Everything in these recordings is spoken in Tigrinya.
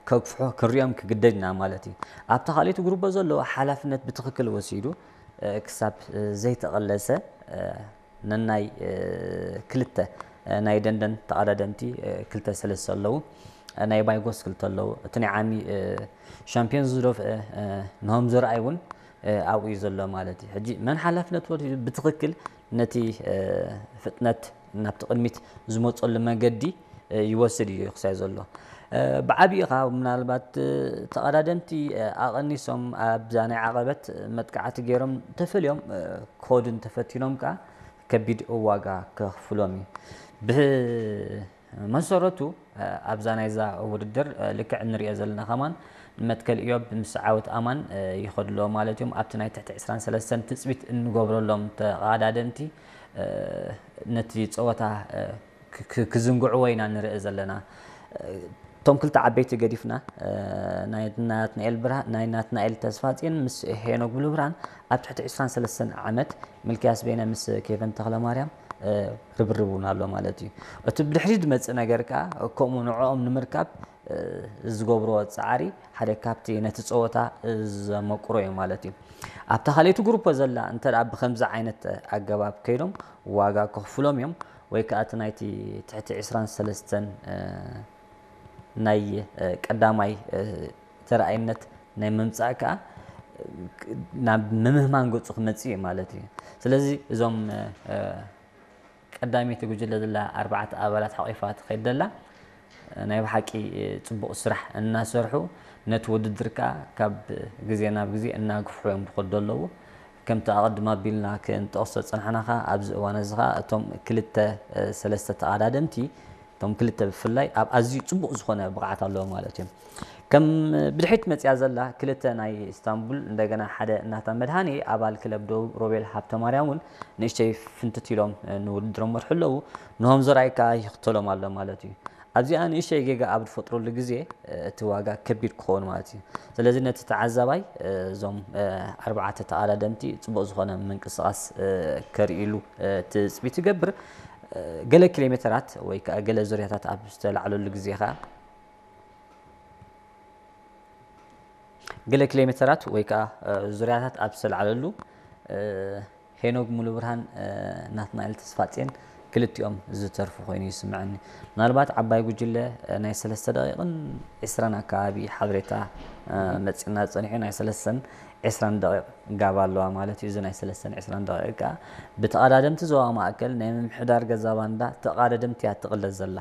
ከግፍሖ ክንሪኦም ክግደድ ኢና ማለት እዩ። ኣብታ ካልኣይቲ ግሩፕ ዘሎ ሓላፍነት ብትኽክል ወሲዱ ክሳብ ዘይተቐለሰ ነናይ ክልተ ናይ ደንደን ተቐዳደምቲ ክልተ ሰለስተ ኣለዉ። ናይ ባይጎስ ክልተ ኣለዉ። እቲ ናይ ዓሚ ሻምፒዮን ዝደፍአ ንሆም ዘርኣይ እውን ኣብኡ እዩ ዘሎ ማለት እዩ። ሕጂ መን ሓላፍነት ወሲዱ ብትኽክል ነቲ ፍጥነት ናብቲ ቅድሚት ዝመፀሉ መገዲ ይወስድ እዩ ክሳይ ዘሎ። ብዓብዩ ኸዓ ምናልባት ተቐዳደምቲ ኣቐኒሶም ኣብዛ ናይ ዓቐበት መጥቃዕቲ ገይሮም ተፈልዮም ክኸዱ እንተፈቲኖም ከዓ ከቢድ ዋጋ ከኽፍሎም እዩ። ብመሰረቱ ኣብዛ ናይዛ ውድድር ልክዕ እንሪኦ ዘለና ከማን መትከል ኢዮብ ምስ ዓወት ኣማን ይኸዱ ኣለዉ ማለት እዮም። ኣብቲ ናይ ትሕቲ ዕስራን ሰለስተን ትፅቢት እንገብረሎም ተቐዳደምቲ ነቲ ፀወታ ክዝንግዕዎ ኢና ንርኢ ዘለና። እቶም ክልተ ዓበይቲ ገዲፍና ናይ ናትናኤል ብርሃን ናይ ናትናኤል ተስፋጽዮን ምስ ሄኖክ ብሉብርሃን ኣብ ትሕቲ ዕስራን ሰለስተን ዓመት፣ ሚልክያስ ቤነ ምስ ኬቨን ተኽለማርያም ርብርብ እውን ኣሎ ማለት እዩ። እቲ ብድሕሪት ዝመጽእ ነገር ከኣ ከምኡ ንዕኦም ንምርካብ ዝገብርዎ ጻዕሪ ሓደ ካብቲ ነቲ ጸወታ ዘመቅሮ እዩ ማለት እዩ። ኣብታ ካልኣይቲ ግሩፕ ዘላ እንተ ደኣ ብኸምዚ ዓይነት ኣገባብ ከይዶም ዋጋ ከኽፍሎም እዮም። ወይ ከኣ እቲ ናይቲ ትሕቲ ዕስራን ሰለስተን ናይ ቀዳማይ ተረኣይነት ናይ ምምጻእ ከኣ ናብ ምምህማን ገጹ ክመጽእ እዩ ማለት እዩ። ስለዚ እዞም ቀዳመይቲ ጉጅለ ዘላ ኣርባዕተ ኣባላት ሓቒፋ ትኸይድ ዘላ ናይ ብሓቂ ጽቡቕ ስራሕ እናሰርሑ ነቲ ውድድር ከኣ ካብ ግዜ ናብ ግዜ እናግፍሑ እዮም ዝኸዱ ዘለዉ። ከምቲ ኣቐድም ኣቢልና ክንጠቕሶ ዝጸናሕና ከኣ ኣብዚ እዋን እዚ ከኣ እቶም ክልተ ሰለስተ ተቐዳደምቲ እቶም ክልተ ብፍላይ ኣብ ኣዝዩ ጽቡቕ ዝኾነ ብቕዓት ኣለዎም ማለት እዮም። ከም ብድሕሪት መጽያ ዘላ ክልተ ናይ ኢስታንቡል እንደገና ሓደ ናታ መድሃኔ ኣባል ክለብ ደቡብ ሮቤል ሃብተማርያም እውን ንእሽተይ ፍንትት ኢሎም ንውድድሮም መርሑ ኣለዉ። ንሆም ዘርኣይ ከኣ ይኽተሎም ኣሎ ማለት እዩ። ኣብዚኣ ንእሽተይ ጌጋ ኣብ ዝፈጥረሉ ግዜ እቲ ዋጋ ከቢድ ክኸውን ማለት እዩ። ስለዚ ነቲ ተዓዛባይ እዞም ኣርባዕተ ተቐዳደምቲ ጽቡቕ ዝኾነ ምንቅስቓስ ከርእይሉ ትጽቢት ይገብር። ገለ ኪሎ ሜተራት ወይ ከኣ ገለ ዙርያታት ኣብ ዝተላዕለሉ ግዜ ከኣ ገለ ኪሎ ሜተራት ወይ ከኣ ዙርያታት ኣብ ዝተላዕለሉ ሄኖግ ሙሉብርሃን ናትናኤል ተስፋጽዮን ክልቲኦም ዝተርፉ ኮይኑ ይስምዐኒ። ምናልባት ዓባይ ጉጅለ ናይ ሰለስተ ደቂቕን ዕስራን ኣካባቢ ሓበሬታ መጺእና ጸኒሑ ናይ ሰለስተን ዕስራን ደቂቕ ጋብ ኣለዋ ማለት እዩ። እዚ ናይ ሰለስተን ዕስራን ደቂቕ ከኣ ብተቐዳደምቲ ዞባ ማእከል ናይ ምምሕዳር ገዛ ባንዳ ተቐዳደምቲ እያ ትቕለስ ዘላ።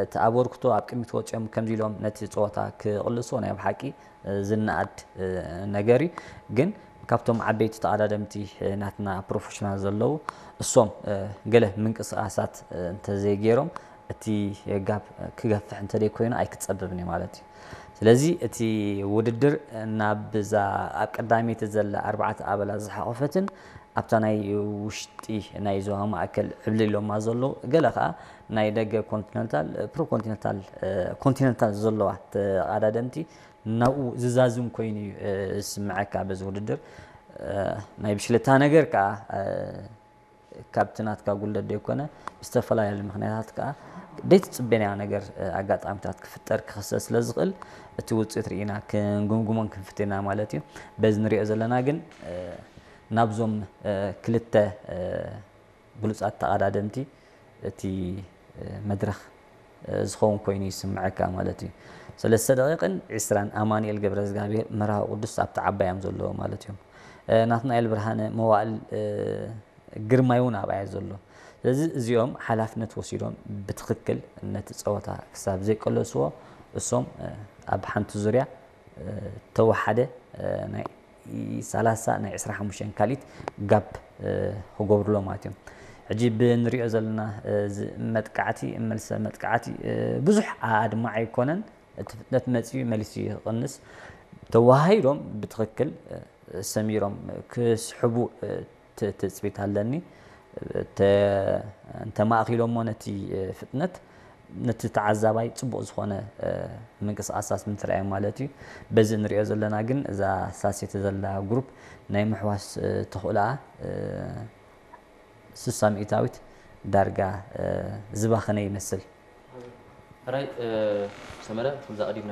እቲ ኣበርክቶ ኣብ ቅድሚት ወጺኦም ከምዚ ኢሎም ነቲ ጸወታ ክቕልስዎ ናይ ብሓቂ ዝነኣድ ነገር እዩ። ግን ካብቶም ዓበይቲ ተቐዳደምቲ ናትና ፕሮፌሽናል ዘለዉ እሶም ገለ ምንቅስቓሳት እንተዘይገይሮም እቲ ጋብ ክገፍሕ እንተደይ ኮይኑ ኣይክጸበብን እዩ ማለት እዩ። ስለዚ እቲ ውድድር ናብ እዛ ኣብ ቀዳመይቲ ዘላ ኣርባዕተ ኣባላት ዝሓቖፈትን ኣብታ ናይ ውሽጢ ናይ ዞባ ማእከል ዕብልሎማ ዘለዉ ገለ ከኣ ናይ ደገ ኮንቲነንታል ፕሮ ኮንቲነንታል ኮንቲነንታል ዘለዋ ተቐዳደምቲ ናብኡ ዝዛዝም ኮይኑ እዩ ዝስምዐካ በዚ ውድድር። ናይ ብሽለታ ነገር ከኣ ካብቲ ናትካ ጉለት ዘይኮነ ብዝተፈላለዩ ምኽንያታት ከኣ ዘይትጽበናዮ ነገር ኣጋጣሚታት ክፍጠር ክኽሰት ስለ ዝኽእል እቲ ውፅኢት ርኢና ክንግምግሞን ክንፍትና ማለት እዩ። በዚ ንሪኦ ዘለና ግን ናብዞም ክልተ ብሉጻት ተቐዳደምቲ እቲ መድረኽ ዝኸውን ኮይኑ ይስምዐካ ማለት እዩ። ሰለስተ ደቂቕን ዕስራን ኣማኑኤል ገብረ እግዚኣብሔር መርሃዊ ቅዱስ ኣብቲ ዓባይ እዮም ዘለዉ ማለት እዮም። ናትናኤል ብርሃነ መዋእል ግርማይ እውን ኣብኣ እዩ ዘሎ። ስለዚ እዚኦም ሓላፍነት ወሲዶም ብትኽክል ነቲ ጸወታ ክሳብ ዘይቀለስዎ እሶም ኣብ ሓንቲ ዙርያ ተወሓደ ናይ ሰላሳ ናይ ዕስራ ሓሙሽተ ካልኢት ጋብ ክገብሩሎ ማለት እዮም። ሕጂ ብንሪኦ ዘለና መጥቃዕቲ መልሰ መጥቃዕቲ ብዙሕ ኣድማዕ ኣይኮነን። እቲ ፍጥነት መፅዩ መሊሱ ይቕንስ። ተዋሃሂዶም ብትኽክል ሰሚሮም ክስሕቡ ትፅቢት ኣለኒ። እንተማእኪሎሞ ነቲ ፍጥነት ነቲ ተዓዛባይ ፅቡቕ ዝኾነ ምንቅስቃሳት ምትርኣዮም ማለት እዩ። በዚ እንሪኦ ዘለና ግን እዛ ሳሴት ዘላ ግሩፕ ናይ ምሕዋስ ተኽእሎኣ ስሳ ሚእታዊት ዳርጋ ዝባኸነ ይመስል። ሕራይ ሰመረ፣ ከምዛ ቀዲምና